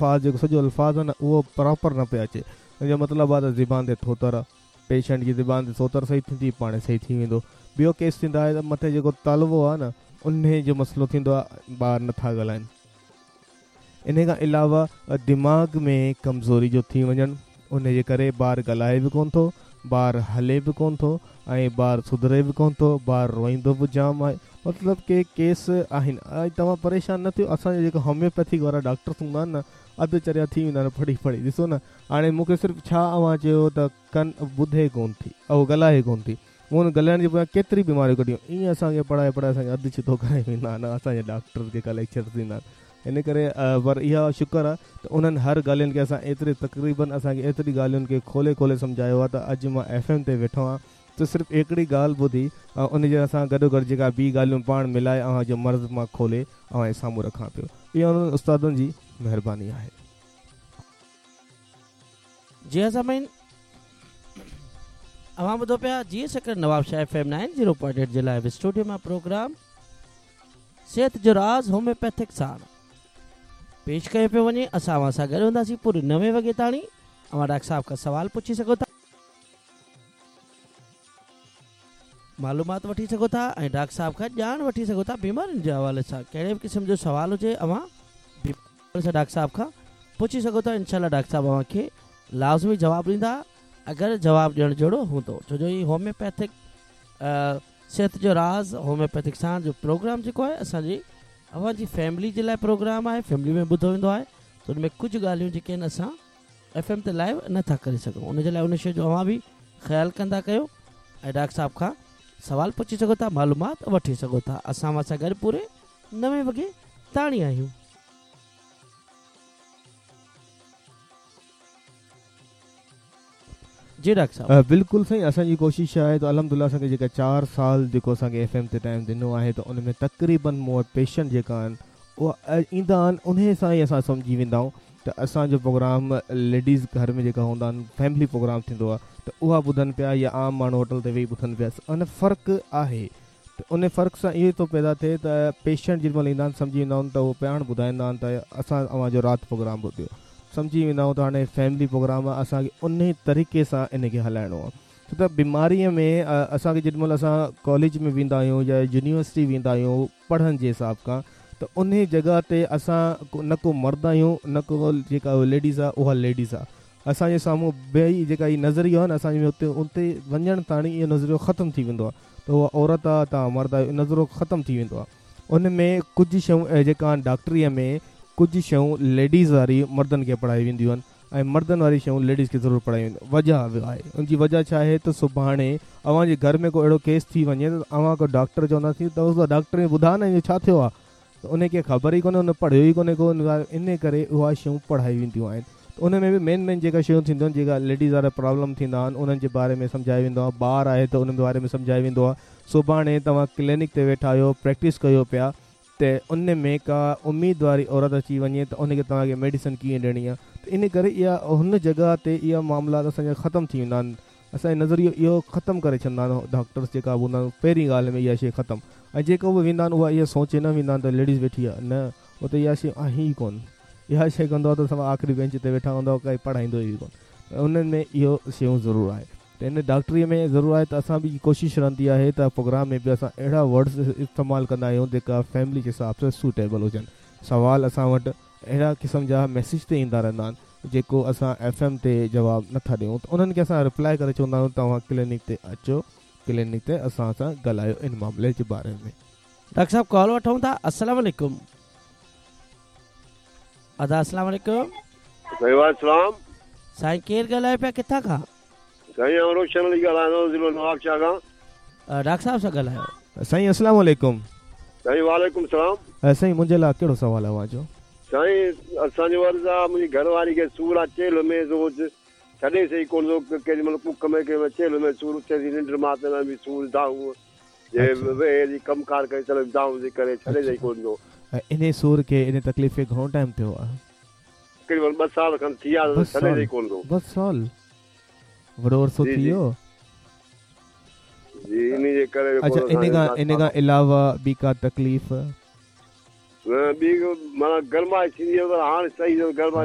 الفاظ جيڪو سڄو الفاظ آهي نه اهو پراپر نه پيو اچي ان جو مطلب آهي ته زبان تي ٿوتر آهي پيشنٽ جي زبان تي ٿوتر صحيح ٿيندي پاڻ صحيح ٿي ويندو ٻيو ڪيس ٿيندو آهي ته مٿي جيڪو تالوو آهي نه انهي جو مسئلو ٿيندو آهي ٻار نٿا ڳالهائن انهي کان علاوه دماغ ۾ ڪمزوري جو ٿي وڃڻ انهي جي ڪري ٻار ڳالهائي به ڪونه ٿو ٻار هلي به ڪونه ٿو ۽ ٻار سڌري به ڪونه ٿو ٻار روئيندو به جام آهي مطلب ڪي ڪيس آهن ۽ توهان پريشان نه ٿيو اسان جا جيڪا هوميوپيٿڪ وارا ڊاڪٽرس هوندا آهن نه اڌ چريا ٿي ويندا آهن پڙهي پڙهي ڏسو نه هاڻي مون کي صرف ڇا اوهان چيو ته ڪن ٻڌي ڪونه ٿي اهو ڳالهائي ڪونه ٿي مون ان ڳالهائڻ جي پويان ڪيتري بيماريون ڪڍيون ائين اسان کي پڙهائي پڙهائي اسان کي اڌ ڇتو ڪرائي ويندا آهن اسان جا ڊاڪٽر جيڪا ليڪچرز ڏيندا آهن ان ڪري پر اها شڪر آهي ته انهن هر ڳالهين کي اسان ايتري تقريبن اسان کي ايتري ڳالهين کي کولي کولي سمجهايو آهي ته اڄ مان ايف ايم تي ويٺو آهيان ته صرف هڪڙي ڳالهه ٻڌي ۽ ان جي سان گڏو گڏ جيڪا ٻي ڳالهيون پاڻ ملائي اوهان جو مرض مان کولي اوهان جي سامهون رکان پيو اها انهن استادن جي مهرباني آهي. جي ها سامعين اوهان ٻڌو پيا جي سکر نوابشاهه ايف ايم 90.8 جي لائيو اسٽوڊيو مان پروگرام صحت جو راز هوميوپيٿڪ ساڻ پيش ڪيو پيو وڃي اسان اوهان سان گڏ هونداسين پوري نوين وڳي تاڻي اوهان ڊاڪٽر صاحب کان سوال پڇي سگهو ٿا معلومات وٺي سگهو ٿا ۽ ڊاڪٽر صاحب کان ڄاڻ وٺي سگهو ٿا بيمارين جي حوالي سان ڪهڙي به قسم جو سوال هجي اوهان بيمارين سان ڊاڪٽر صاحب کان پڇي سگهو ٿا انشاء الله ڊاڪٽر صاحب اوهان کي لازمي جواب ڏيندا اگر جواب ڏيڻ جهڙو هوندو ڇو جو هي هوميوپيٿڪ صحت جو راز هوميوپيٿڪ سان جو پروگرام جيڪو آهي اسان جي اوهان جي فيملي جي لاء پروگرام آهي فيملي ۾ ٻڌو ويندو آهي ته ان ۾ ڪجهه ڳالهيون جيڪي آهن اسان ايف ايم تي لائيو نه ٿا ڪري سگهون ان جي لاء ان شيء جو اوهان به خيال ڪندا ڪيو ۽ ڊاڪٽر صاحب کان سوال پڇي سگهو ٿا معلومات وٺي سگهو ٿا اسان اوهان سان گڏ پوري نوين وڳي تاڻي آهيون. جي ڊاڪٽر صاحب. بلڪل سائين اسان جي ڪوشش آهي ته الحمدلله اسان کي جيڪا 4 سال جيڪو اسان کي ايف ايم تي ٽائيم ڏنو آهي ته ان ۾ تقريبن مون وٽ پيشنٽ جيڪا آهن اها ايندا آهن انهي سان ئي اسان سمجهي ويندا آهيون ته اسان جو پروگرام ليڊيز گهر ۾ جيڪا هوندا آهن فيملي پروگرام ٿيندو آهي ته اها ٻڌن پيا يا عام ماڻهو هوٽل تي ويهي ٻڌن پيا ان فرق آهي ته ان فرق سان اهو ٿو پيدا ٿئي ته پيشنٽ جيڏي مهل ايندا آهن سمجهي ويندا آهن ته اهو پاڻ ٻڌائيندا آهن ته اسان اوهان جو رات پروگرام ٻڌيو سمجهي ويندا آهيون ته هاڻي فيملي پروگرام آهي اسان کي انهي طريقي سان ان کي هلائڻو آهي ڇو ته بيماري ۾ اسان کي جيڏي مهل اسان ڪاليج ۾ ويندا آهيون يا يونيورسٽي ويندا آهيون پڙهڻ جي حساب کان ته انهي جڳهه تي اسان نه ڪو مرد آهيون نه ڪو جيڪا ليڊيز آهي اها ليڊيز آهي اسان جي سامهون ٻئي جيڪا هي نظريو آهي نه اسان جي اتي اتي وڃڻ تاڻي اهو نظريو ختم ٿي ويندو آهي ته اها عورت آهي توهان مرد آهيو نظريو ختم ٿي ويندو آهي ان ۾ ڪجهه شيون جيڪا آهن ڊاڪٽريء ۾ ڪجهه شيون ليڊيز واري مردن کي پڙهائي وينديون آهن ۽ مردن واري شيون ليڊيز کي ضرور پڙهايون وينديون وجهه به آهي ان جي وجهه ڇا آهي ته سڀاڻي اوهان جي گهر ۾ ڪو اهڙو ڪيس ٿي وڃي ته اوهان ڪو ڊاڪٽر چونداسين ته ڊاڪٽر ٻڌاء نه اهو ڇا ٿيو آهي ته ان کي خبر ئي ڪونهي ان پڙهيو ئي ڪونهي ڪو ان ڪري اها شيون پڙهائي وينديون آهن ته ان ۾ به مين مين جيڪا شيون ٿينديون آهن جيڪا ليڊيز وارا پرابلم ٿيندا آهن انهن جي باري ۾ سمجهايو ويندو آهي ٻار آهي ته ان باري ۾ سمجهايو ويندو آهي سڀاڻي توهان ڪلينڪ تي ويٺا آهيو پريڪٽس ڪيو پيا ته ان ۾ ڪا اميد واري عورت اچي وڃي ته ان کي توهان کي ميڊيسن ڪيئن ڏيڻي آهي ته ان ڪري اها هن جڳهه تي اها معاملات اسان جا ختم ٿي ويندا آهن اسان جو نظريو اهو ختم ڪري ڇڏندا آهن ڊاڪٽرس جيڪا به هوندا آهن پهرين ڳالهه ۾ اها شيء ختم ۽ جيڪو به ويندا آهن اها اها سوچي نه ويندا آهن ته ليڊيز ويٺي آهي نه اتي اها شيء آهي ئي ڪونه اها شيء ڪندو آهي ته سڀ آخري بينچ تي ويٺا هوندا ڪائي پڙهائيندو ئي ڪونه انهن ۾ اهو شيون ضرور آهي ته ان ڊاڪٽريء ۾ ضرور آهي ته اسان به ڪوشش رهندي آهي ته پروگرام ۾ به اسان اهڙا ورڊس استعمال ڪندا آهيون جيڪا فيملي جي حساب سان سوٽيبل هجن سوال اسان وٽ اهڙا قسم جا ميسيج تي ايندا رهندا آهن جيڪو اسان ايف ايم تي جواب نٿا ڏيون ته انهن کي اسان رپلائي ڪري چوندا آهيون توهان ڪلينڪ تي اچو ڪلينڪ تي اسان سان ڳالهايو ان معاملي جي باري ۾. ڊاڪٽر صاحب ڪال وٺون ٿا السلام عليڪم ادا السلام عليڪم. سائين وعليڪم السلام. سائين ڪير ڳالهايو پيا ڪٿان کان. سائين آئون روشن علي ڳالهايان ٿو ضلعو نوابشاهه کان. ڊاڪٽر صاحب سان ڳالهايو. سائين السلام عليڪم. سائين وعليڪم السلام. سائين منهنجي لاء ڪهڙو سوال آهي اوهان جو. سائين اسان جو عرض آ منهنجي گهر واري کي سور آ چيلهه ۾ سو ڇڏيس ئي ڪونه ٿو ڪيڏي مهل ڪک ۾ ڪيڏي مهل چيلهه ۾ سور اٿي ٿي ننڊ مان تڏهن به سور دانهون جي ويهي ٿي ڪم ڪار ڪري تڏهن به دانهون ٿي ڪري ڇڏيس ئي ڪونه ٿو. انهي سور کي انهي تڪليف کي گهڻو ٽائيم ٿيو آ. تقريبن ٻه سال کن ٿي ويا ٻه ڇڏيس سال ئي ڪونه ٿو. ٻه سال وڏو عرصو جي ٿي جي ويو. جي انهي جي ڪري اڇا جيڪو انهي اسان کان کي انهي کان علاوه ٻي ڪا تڪليف. نه ٻي معنيٰ گرمائش ٿيندي هئي پر هاڻي صحيح گرمائش هاڻي.